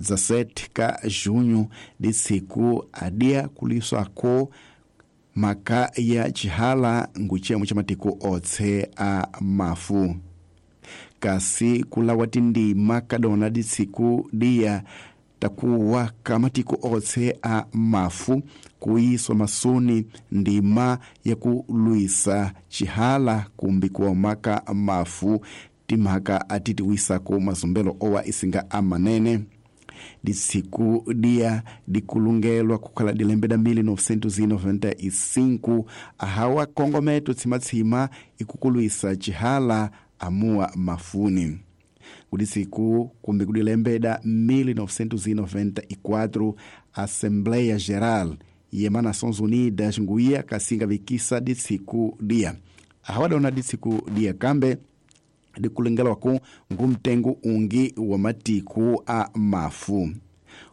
17 ka junho disiku adia kuliswako maka ya chihala nguchemo cha matiku otse a mafu kasi kulawa tindima kadona disiku dia takuwa kamatiku otse a mafu kuiswa masuni ndima ya kulwisa chihala kumbi kuomaka mafu timhaka atitiwisako mazumbelo owa isinga amanene disiku dia dikulungelwa kukhala dilembeda 1995 ahawa kongometo tsimatsima ikukulwisa chihala amuwa mafuni kudisiku kumbi kudilembeda 1994 Assembleia Geral yema Nações Unidas nguia kasinga vikisa disiku dia ahawadona disiku dia kambe dikulengelwaku ngumtengo ungi wa matiku a mafu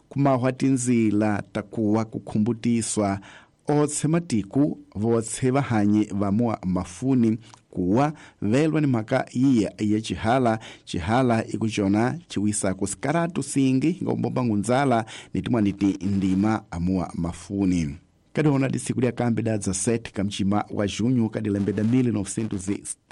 kumahwa tinzila takuwa kukhumbutiswa otse matiku votse vahanyi vamua mafuni kuwa velwa ni mhaka iya ya chihala chihala ikuchona chiwisako sikaratu singi ngombomba ngunzala nitimwaniti ndima amua mafuni kadiona disiku lya kambi da 17 kamchima wa junho kadilembeda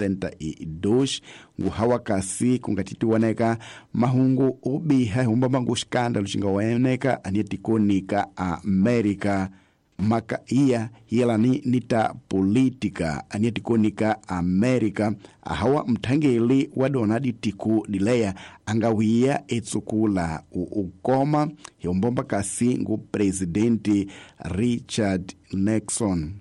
1972 nguhawa kasi kungatitiwoneka mahungu ubiha humbamba ngu xikandalo xingaweneka aniyetikonika america maka iya yelani nita política aniyetikonika america ahawa mthangeli wa dona ditiku dileya angawiya etsukula ukoma hiumbomba kasi ngu presidente Richard Nixon.